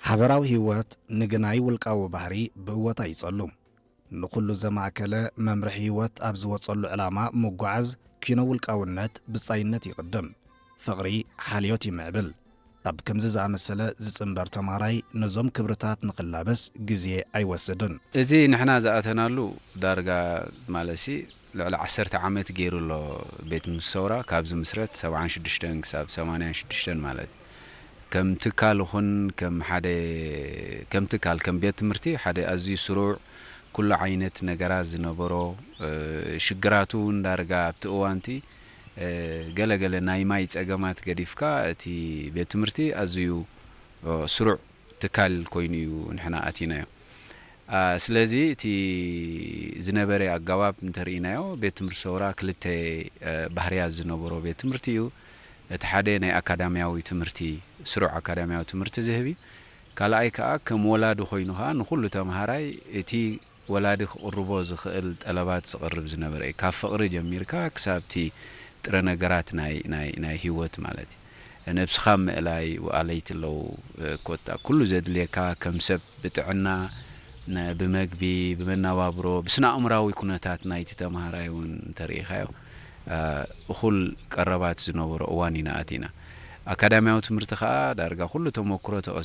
ሓበራዊ ህይወት ንግናይ ውልቃዊ ባህሪ ብእወታ ይጸሉ። ንኹሉ ዘማእከለ መምርሒ ህይወት ኣብ ዝወጸሉ ዕላማ ምጓዓዝ ኪኖ ውልቃውነት ብጻይነት ይቕድም። ፍቕሪ ሓልዮት ይምዕብል። ኣብ ከምዚ ዝኣመሰለ ዝጽንበር ተማሃራይ ነዞም ክብርታት ንኽላበስ ግዜ ኣይወስድን። እዚ ንሕና ዝኣተናሉ ዳርጋ ማለትሲ ልዕሊ ዓሰርተ ዓመት ገይሩ ኣሎ ቤት ትምህርቲ ሰውራ ካብ ዝምስረት ሰብዓን ሽዱሽተን ክሳብ ሰማንያን ሽዱሽተን ማለት ከም ትካል ይኹን ከም ሓደ ከም ትካል ከም ቤት ትምህርቲ ሓደ ኣዝዩ ስሩዕ ኩሉ ዓይነት ነገራት ዝነበሮ ሽግራቱ እውን ዳርጋ ኣብቲ እዋንቲ ገለገለ ናይ ማይ ጸገማት ገዲፍካ እቲ ቤት ትምህርቲ ኣዝዩ ስሩዕ ትካል ኮይኑ እዩ ንሕና ኣቲናዮ። ስለዚ እቲ ዝነበረ ኣገባብ እንተርኢናዮ ቤት ትምህርቲ ሰውራ ክልተ ባህርያት ዝነበሮ ቤት ትምህርቲ እዩ። እቲ ሓደ ናይ ኣካዳሚያዊ ትምህርቲ ስሩዕ ኣካዳሚያዊ ትምህርቲ ዝህብ እዩ። ካልኣይ ከዓ ከም ወላዲ ኮይኑ ከዓ ንኩሉ ተምሃራይ እቲ ወላዲ ክቕርቦ ዝኽእል ጠለባት ዝቕርብ ዝነበረ እዩ። ካብ ፍቕሪ ጀሚርካ ክሳብ እቲ ጥረ ነገራት ናይ ናይ ናይ ህይወት ማለት እዩ። ነብስኻ ምእላይ ኣለይቲ ኣለዉ ኮታ ኩሉ ዘድልየካ ከም ሰብ ብጥዕና ብመግቢ ብመናባብሮ ብስነ ኣእምራዊ ኩነታት ናይቲ ተምሃራይ እውን እንተርኢኻዮ እኹል ቀረባት ዝነበሮ እዋን ኢና ኣቲና። ኣካዳሚያዊ ትምህርቲ ከዓ ዳርጋ ኩሉ ተመክሮ